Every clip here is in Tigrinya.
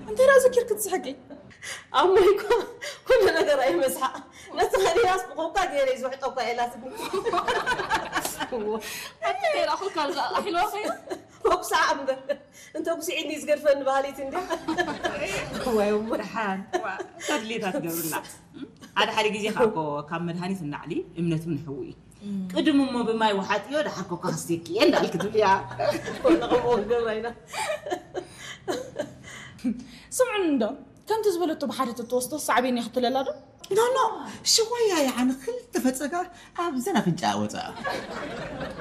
እንታይ ደኣ ዘኪርክ ትስሕቂ? ኣሞይ እኮ ኩሉ ነገር ኣይመስሓቕ። ነቲ ከሊላስ ብኮካ ገይረ እዩ ዝውሕጦ እኳ ኢላትኒ። ኣቲ ከይራ ኮካ ኣልጋ ኣሒልዋ ኸይኑ። ኮክሳ እምበር እንተ ጉስዒኒ ዝገድፈኒ ባህሊት እንዲ። ወይ እሞ ደሓን። ዋ፣ ተድሌታ ትገብርና። ሓደ ሓደ ግዜ ከዓ እኮ ካብ መድሃኒት እናዕሊ እምነት እውን ሕዊ እዩ። ቅድም እሞ ብማይ ውሓጥዮ ደሓር ኮካ ክስቴኪ እየ እንዳልክ ትብልያ። ወላ ከምኡ ክንገብራ ኢና። ስምዑኒ እንዶ፣ ከምቲ ዝበለቶ ብሓደ ተትወስዶ ሳዕቤን እያ ክትብለላ ዶ? ኖ ኖ፣ ሽወያ ይዓኒ ክልተ ፈፀጋ ኣብዘን ኣፍንጫ ወፃ።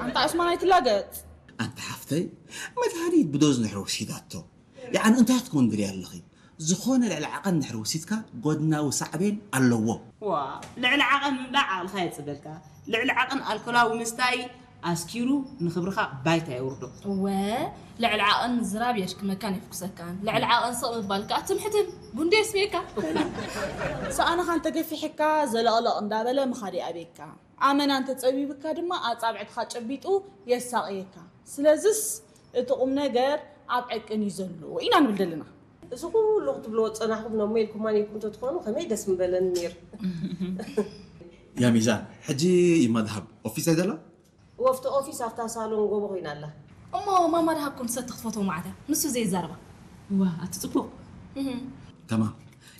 ኣንታ ዑስማን ኣይትላገፅ። ኣንታ ሓፍተይ፣ መድሃኒት ብዶዝ ንሕሮ ሲዳቶ። ይዓኒ እንታይ ክትኮን ድልያ ኣለኺ? ዝኾነ ልዕሊ ዓቐን ድሕሪ ወሲድካ ጎድናዊ ሳዕቤን ኣለዎ። ዋ፣ ልዕሊ ዓቐን ምብላዕ ዓቕልኻ የጽበልካ። ልዕሊ ዓቐን ኣልኮላዊ ምስታይ ኣስኪሩ ንኽብርኻ ባይታ የውርዶ። እወ፣ ልዕሊ ዓቐን ምዝራብ የሽክመካን የፍኩሰካን። ልዕሊ ዓቐን ስቕ ምባል ከኣ ትምሕትን ጉንዲ የስምየካ። ሰኣንኻ እንተገፊሕካ ዘለቕለቕ እንዳበለ ምኻድ ይኣብየካ። ኣመና እንተጸቢብካ ድማ ኣጻብዕትኻ ጨቢጡ የሳቕየካ። ስለዝስ እቲ ቁም ነገር ኣብ ዕቅን እዩ ዘሎ ኢና ንብል ዘለና። እዚ ኩሉ ክትብልዎ ዝጸናሕኩም ነሞ ኢልኩማ ኔርኩም እንተትኾኑ ከመይ ደስ ምበለኒ ኔሩ። ያ ሚዛን፣ ሕጂ ይማ ደሃብ ኦፊስ ኣይደላ? ወፍቲ ኦፊስ ኣብታ ሳሎን ጎቦ ኮይና ኣላ። እሞ ማማ ደሃብ ኮምሰ ክትፈትዎ ማዕተ ንሱ ዘይዛረባ። ዋ፣ ኣቲ ጽቡቕ። እህ። ተማም።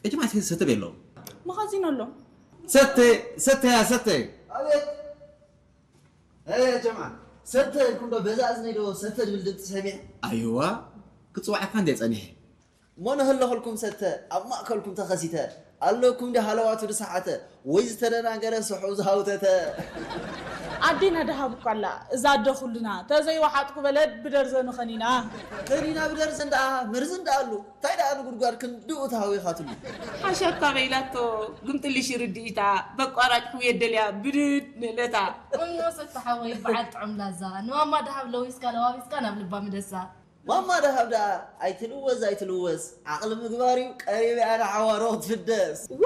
እጅማዕት ሰተ ቤሎ። መኻዚን ኣሎ። ሰተ፣ ሰተ፣ ያ ሰተ። ኣቤት። እ፣ ጀምዓ፣ ሰተ ኢልኩም ዶ በዛ እዝነይ ዶ ሰተ ዝብል ድምፂ ሰሚዐ? ኣይዋ፣ ክፅዋዓካ እንደ ፀኒሐ። እሞ ንህለኹልኩም ሰተ፣ ኣብ ማእከልኩም ተኸሲተ፣ ኣለኩም ዲ ሃለዋቱ ድሰሓተ፣ ወይ ዝተደናገረ ስሑ ዝሃውተተ? ኣዴና ደሃብ እኮ ኣላ፣ እዛ ኣደ ኩልና፣ ተዘይወሓጥኩ በለ ብደርዘኑ ኸኒና። ኸኒና ብደርዘን ደኣ፣ መርዝን ደኣ ኣሉ። እንታይ ደኣ ንጉድጓድ ክንድኡ ተሃዊኻትሉ? ሓሻካ በይላቶ፣ ግምጥልሽ ርድኢታ፣ በቋራጭ ሕውየት ደልያ ብድድ ንእለታ። እሞ ሰተ ሓወይ በዓል ጥዑም ላዛ፣ ንማማ ደሃብ ለዊስካ ለዋዊስካ ናብ ልባ ምደሳ። ማማ ደሃብ ደኣ ኣይትልወዝ ኣይትልወዝ፣ ዓቕሊ ምግባር እዩ ቀሪብ እያ ንዓዋሮ ክትፍደስ። ዋ፣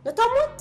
ነታ ሞት!